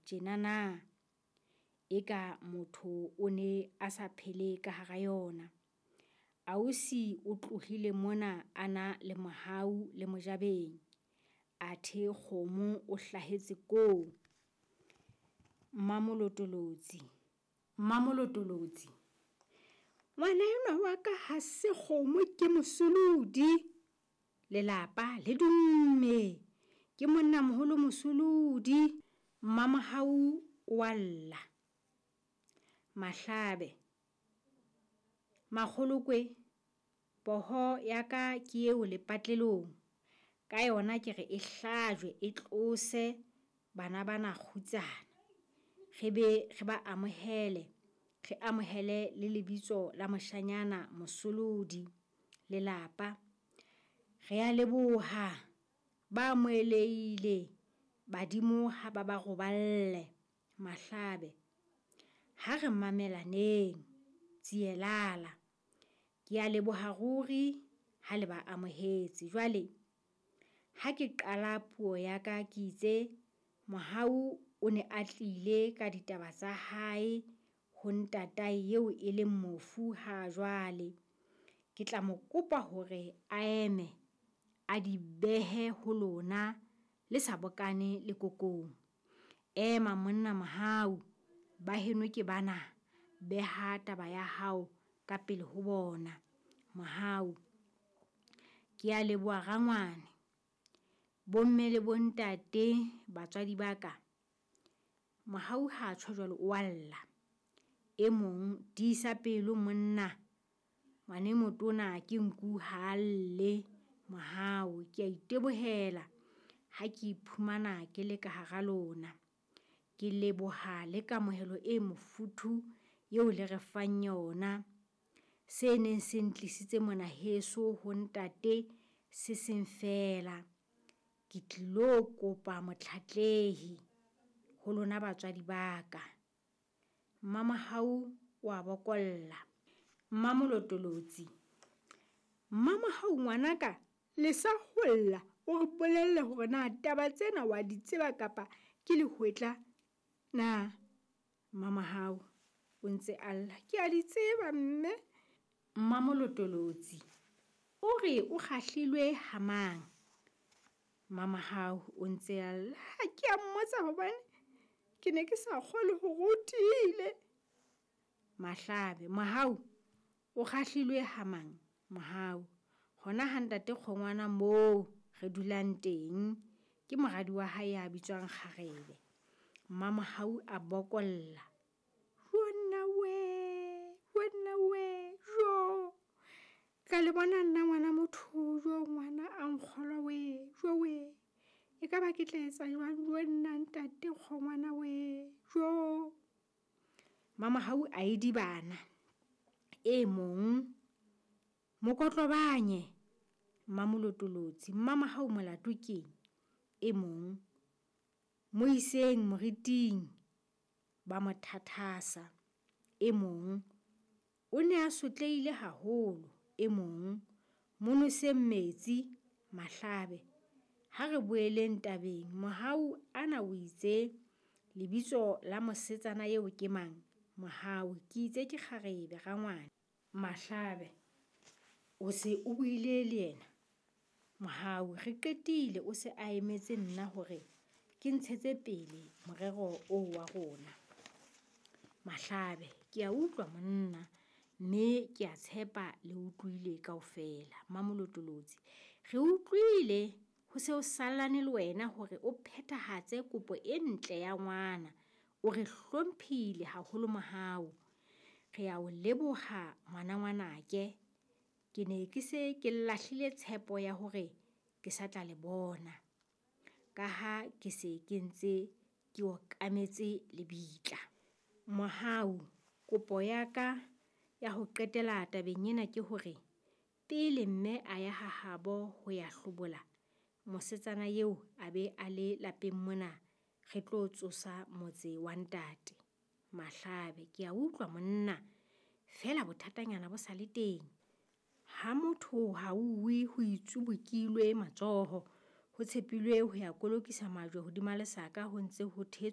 tjena na? Eka motho o ne a sa phele ka hara yona. Ausi o tlohile mona a na le Mohau le Mojabeng, athe Kgomo o hlahetse koo. Mmamolotolotsi, Mmamolotolotsi, ngwana enwa wa ka ha se kgomo ke mosolodi. Lelapa le dumme, ke monnamoholo mosolodi. Mmamohau o a lla. Mahlabe, Makgolokwe, poho ya ka ke eo lepatlelong. Ka yona ke re e hlajwe e tlose bana bana kgutsana. Re be re ba amohele, re amohele le lebitso la moshanyana Mosolodi. Lelapa, re a leboha, ba amohelehile badimo ha ba ba roballe. Mahlabe, ha re mamelaneng. Tsielala, ke a leboha ruri ha le ba amohetse. Jwale ha ke qala puo ya ka ke itse Mohau o ne a tlile ka ditaba tsa hae ho ntatae eo e leng mofu ha jwale. Ke tla mo kopa hore a eme a di behe ho lona le sa bokane lekokong. Ema monna Mohau, ba heno ke bana, beha taba ya hao ka pele ho bona. Mohau, ke a leboha rangwane. Bomme le bontate, batswadi ba ka. Mohau ha a tjho jwalo o a lla. E mong, tiisa pelo monna, ngwana e motona ke nku ha a lle. Mohau, ke a itebohela ha ke iphumana ke le ka hara lona. Ke leboha le kamohelo e mofuthu eo le re fang yona. Se neng se ntlisitse mona heso ho ntate se seng feela. Ke tlilo kopa motlatlehi ho lona batswadi ba ka. Mmamohau o a bokolla. Mmamolotolotsi, Mmamohau ngwanaka, lesa ho lla o re bolelle hore na taba tsena wa di tseba kapa ke lehwetla na? Mmamohau o ntse a lla. Ke a di tseba mme. Mmamolotolotsi, O re o kgahlilwe ha mang? Mmamohau o ntse a lla. Ha ke a mmotsa hobane ke ne ke sa kgolwe hore o tiile. Mahlabe, Mohau o kgahlilwe ha mang? Mohau, hona ha ntate Kgongwana moo re dulang teng. Ke moradi wa hae ya bitswang Kgarebe. Mmamohau a bokolla. Jonna wee, jonna wee, jo. Ka le bona nna ngwana motho, jo ngwana a nkgolwa wee, jo wee. Ekaba ke tla etsa jwang, jonna ntate Kgongwana wee, jo. Mmamohau a idibana. E mong, mokotlobanye. Mmamolotolotsi, Mmamohau molato keng? E mong, mo iseng moriting ba mo thathasa. E mong, o ne a sotlehile haholo. E mong, mo noseng metsi. Mahlabe, ha re boeleng tabeng. Mohau ana o itse lebitso la mosetsana eo ke mang? Mohau, ke itse ke Kgarebe rangwane. Mahlabe, o se o buile le yena? Mohau, re qetile o se a emetse nna hore ke ntshetse pele morero oo wa rona. Mahlabe, ke a utlwa monna, mme ke a tshepa le utlwile kaofela. Mmamolotolotsi, re utlwile ho se ho sallane le wena hore o phethahatse kopo e ntle ya ngwana. O re hlomphile haholo Mohau. Re a o leboha ngwana ngwanake. Ke ne ke se ke lahlile tshepo ya hore ke sa tla le bona, ka ha ke se ke ntse ke okametse lebitla. Mohau, kopo ya ka ya ho qetela tabeng ena ke hore pele mme a ya ha habo ho ya hlobola, mosetsana eo a be a le lapeng mona re tlo tsosa motse wa ntate. Mahlabe, ke a utlwa monna, feela bothatanyana bo sa le teng. Ha motho ha uwe ho itsubukilwe matsoho, ho tshepilwe ho ya kolokisa majwe hodima lesaka ho ntse ho thetswa.